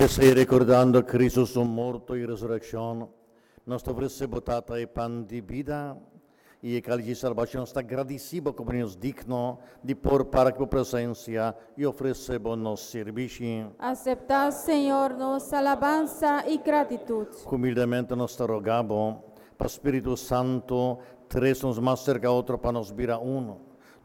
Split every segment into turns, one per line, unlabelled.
P'esei, rekordando Kristu su morto i resurekshon, nos ta ofresé bo, Tata, e pan di bida i e kális di salbashon. Nos ta gradisí bo komo nos digno di por para ku bo presensia i ofresé bo nos sirbishi.
Aseptá, Señor, nos alabansa i gratitut.
Humildemente nos ta roga bo, pa Spiritu Santu trese nos mas serka otro pa nos bira un,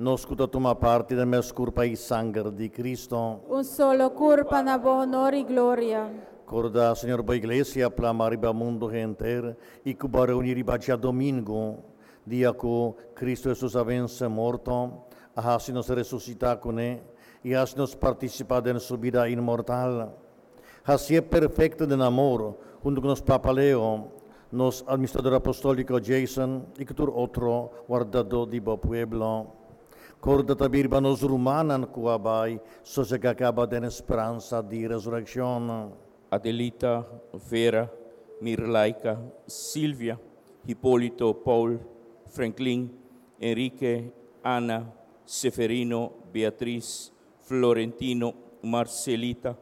nos ku ta tuma parti den mes kurpa i sanger di Kristu.
Un solo kurpa na bo honor i gloria.
Korda, Señor, bo Iglesia plamá riba mundu henter i ku bo a reuní riba djadomingu, dia ku Kristu Hesus a vense morto, a hasi nos resusitá kuné i hasi nos partisipá den su bida inmortal. Hasié perfekto den amor, huntu ku nos Papa Leo, nos Administrador Apostóliko Jason i ku tur otro wardadó di bo pueblo. Korda tambe riba nos rumannan ku a bai sosegá kaba den e speransa di resurekshon.
Adelita, Vera, Mirlaika, Silvia, Hipolito, Paul, Franklin, Enrique, Ana, Seferino, Beatriz, Florentino, Marcelita,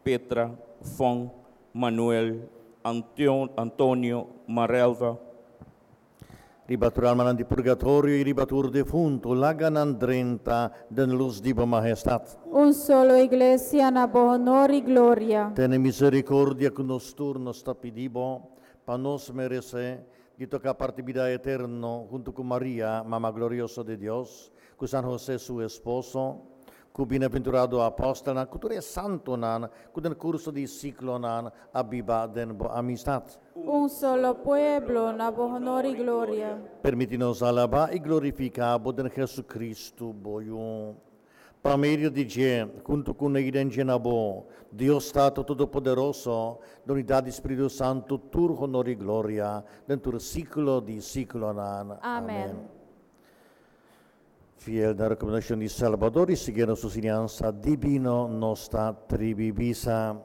Petra, Fon, Manuel, Antonio, Marelva.
Riba tur almanan di purgatorio i riba tur defuntu, laga nan drenta den lus di bo mahestat.
Un solo Iglesia na bo honor i gloria.
Tene misericordia ku nos tur, nos ta pidi bo, pa nos meresé di toka parti bida eterno huntu ku Maria, Mama glorioso di Dios, ku San Hosé su esposo, ku bienaventurado apòstelnan, ku tur e santunan ku den kurso di siklonan a biba den bo amistat.
Un solo pueblo na bo honor i gloria.
Permití nos alabá i glorifiká bo den Jesucristo, bo Yu. Pa medio di dje, huntu kuné i den dje na bo, Dios Tata Todopoderoso, den unidat di Spiritu Santu, tur honor i gloria den tur siklo di siklonan.
Amèn.
Fiel na rekomendashon di Salbador i siguiendo su siñansa dibino, nos ta tribi bisa,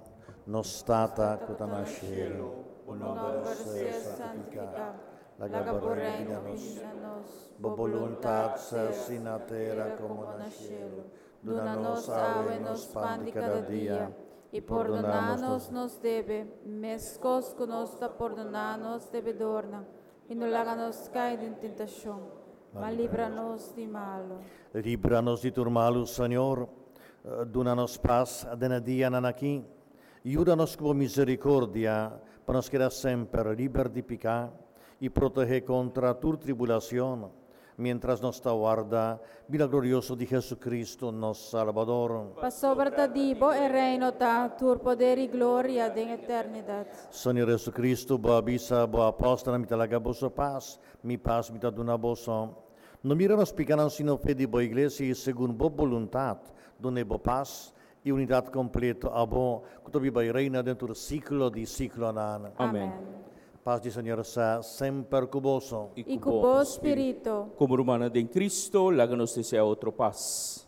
Nos Tata ku ta na shelu, bo nòmber sea santifiká, laga bo reino bini na nos, bo boluntat sea hasi na tera komo na shelu. Duna nos awe nos pan di kada dia,
i pordoná nos nos debe, meskos ku nos ta pordoná nos debedornan, I no laga nos kai den tentashon, ma libra nos di malu.
Libra nos di tur malu, Señor. Duna nos pas den e dianan aki. Yuda nos ku bo misericordia pa nos keda semper liber di piká i protehé kontra tur tribulacion, miéntras nos ta warda bida glorioso di Jesucristo, nos Salbador.
Pasobra ta di bo e reino ta, tur poder i gloria den eternidat.
Señor Jesucristo, bo a bisa bo apòstelnan, Mi ta laga boso pas, mi pas mi ta duna boso. No mira nos pikanan sino fe di bo iglesia i segun bo boluntat dun'é bo pas i unidat kompleto, abo ku ta biba i reina den tur siklo di siklonan.
Amèn.
Pas di Señor sea semper ku boso.
I ku bo spiritu.
Komo rumannan den Cristo, laga nos desea otro pas.